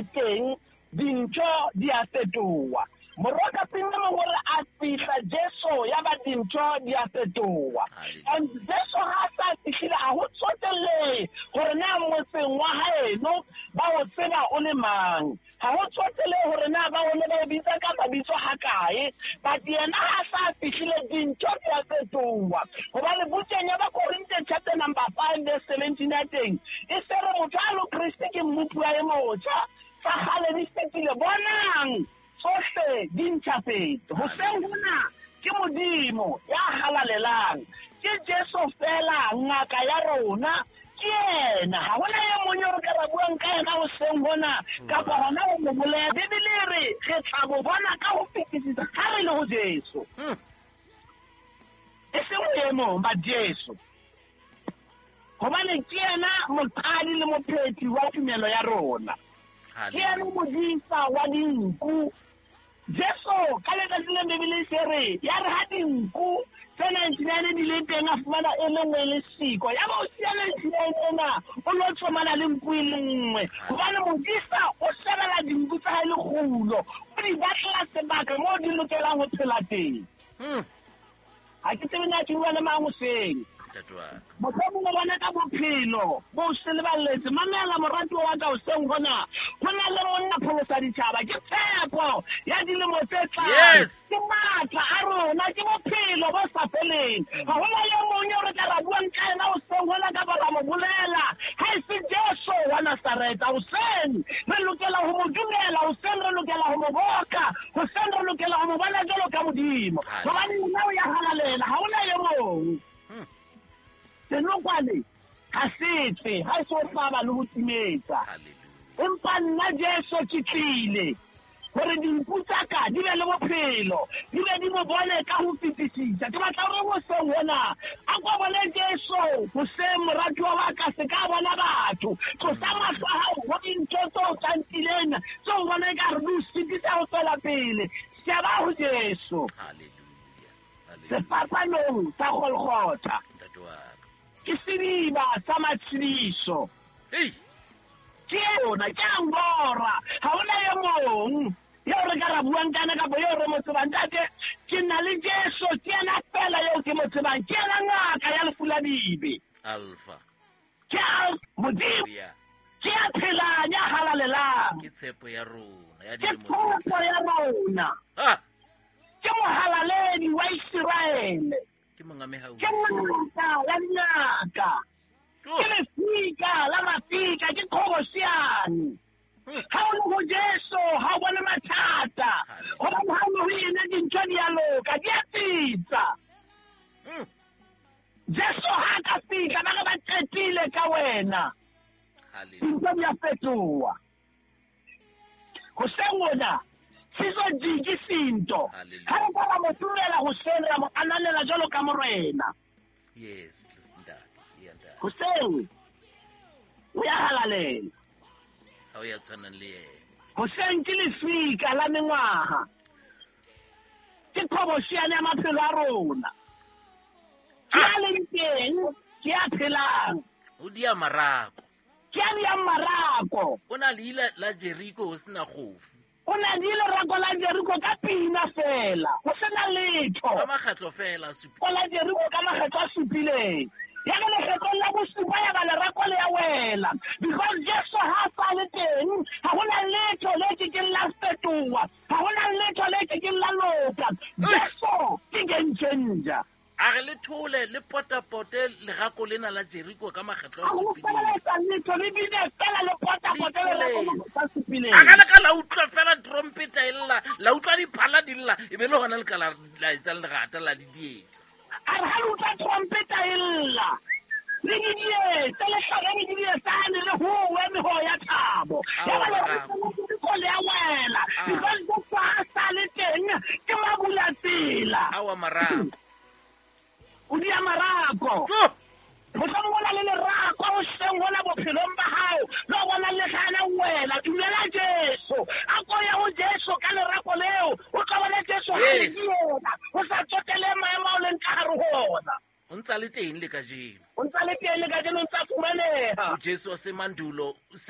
le teng, dintho di a fetoha. Morokapina mongwe o re a fihla Jesu ya ba dintho di a fetoha. And Jesu ha a sa fihlile, ha ho tsotellehe hore na motseng wa haeno ba o tseba o le mang. Ha ho tsotellehe hore na ba o ne ba o bitsa ka mabitso hakae, but yena ha sa fihlile dintho di a fetoha. Hobane bukeng ya Bakorinthe chapter number 5 verse 17 ya teng, e se re motho a lo Kreste ke mmopuwa e motjha, tsa kgale di fetile, bonang tsohle di ntjhafetse. Hoseng hona ke Modimo ya halalelang, ke Jesu feela ngaka ya rona, ke yena. Ha hona e mong eo re ka ra buang ka yena hoseng hona, kapa hona ho mo bolela. Bibele e re re tla mo bona ka ho fetisisa ha re le ho Jesu. E seng ho e mong, but Jesu. Hobane ke yena moqadi le mophethi wa tumelo ya rona. Ke yena modisa wa dinku. Jesu ka letsatsi le Bibele se re, ya re ha dinku tse 99 di le teng, a fumana e le nngwe e le siko. Ya ba o siya 99 ena, o lo tsomana le nku e le nngwe. Hobane modisa o shebela dinku tsa hae lekgulo, o di batlela sebaka moo di lokelang ho phela teng. Ha ke tsebe na ke bua le mang hoseng. Ntate wa ka. Mohlomong o bona ka bophelo bo o seleballetse. Mamela moratuwa wa ka hoseng hona. Ho na le monna pholosa ditjhaba. Ke tshepo ya dilemo tse tlang. Ke matla a rona, ke bophelo bo sa feleng. Ha hona e mong eo re tla ra buang ka yena hoseng hona kapa ra mo bolela, ha e se Jesu wa Nasaretha. Hoseng re lokela ho mo dumela, hoseng re lokela ho mo boka, hoseng re lokela ho mo bona jwalo ka Modimo. Hobane yena o ya halalela, ha hona e mong. Senokwane ha se tswe, ha e so hlaba le ho timetsa. Empa nna Jesu ke tlile hore dinku tsa ka di be le bophelo, di be di mo bone ka ho fetisisa. Ke batla hore hoseng hona a ko bone Jesu hoseng, moratuwa wa ka, se ka bona batho. Tlosa mahlo a hao ho dintho tse o tlantileng, tseo o bona ekare di o sitisa ho tswela pele. Sheba ho Jesu. Sefapanong sa Golgotha. Ke sediba sa matshediso. Ke yona, ke Angora. Ha hona e mong eo re ka ra buang ka yena kapa eo re mo tsebang. Ntate, ke na le Jesu, ke yena feela eo ke mo tsebang. Ke yena ngaka ya lefu la dibe. Alpha. Ke Alpha, Modimo. Ke ya phelang, ya halalelang. Ke tshepo ya rona, ya Ke dilemo tse tshepo ya rona. Ke mohalaledi wa Iseraele. Ke monga mehau. Ke ngaka ya dingaka. Ke lefika la mafika, ke qhobosheane. Ha o le ho Jesu, ha o bone mathata. Hobane ha o le ho yena dintho di a loka, di a tsitsa. Jesu ha ka fihla, ba re ba qetile ka wena. Dintho di a fetoha. Hoseng hona, sizo jiki sinto. Ha re ka ra mo tumela hoseng, ra mo ananela jwalo ka morena. Yes, listen, Dad. Yeah, Dad. Hoseng, o ya halalela. Ha o ya tshwanang le yena. Hoseng ke lefika la mengwaha. Ke qhobosheane ya maphelo a rona. Ke a leng teng, ke a phelang. O dia marako. Ke a diang marako. O na le ila la Jericho ho sena kgofu. O na le lerako la Jericho ka pina fela, ho sena letho. Ka makgetlo fela a supileng. Ko la Jericho ka makgetlo a supileng. Ya re lekgetlong la bosupa ya ba lerako le ya wela. Because Jesu ha a sa le teng, ha hona letho le kekeng la fetoha, ha hona letho le kekeng la loka. Jesu ke game changer. A re le thole le potapote lerako lena la Jericho ka makgetlo a A ho supileng. feleletsa letho le bine fela le potapote Le lerako tholetse. makgetlo a supileng. A ka le ka la utlwa fela trompeta e lla, la utlwa diphala di lla, e be le hona le ka la etsa lerata la di dietsa. A re ha le utlwa trompeta e lla, le di dietse, le hlabe le di dietsane, le howe meho ya thabo. Ao, Ya ba le marako. re Jericho le a wela. Because Jesu ha sa le teng, ke mabulatsela. Awa marako. O dia marako. Tjo! Mohlomong o na le lerako hoseng hona bophelong ba hao, le o bona le gana wela. Dumela Jesu. A ko ye ho Jesu ka lerako leo. O tla bona Jesu ha le yena. Ho sa tsotele maemo ao leng ka hare ho ona. O ntsa le teng le kajeno. O ntsa le teng le kajeno, o ntsa fumaneha. O Jesu wa semandulo,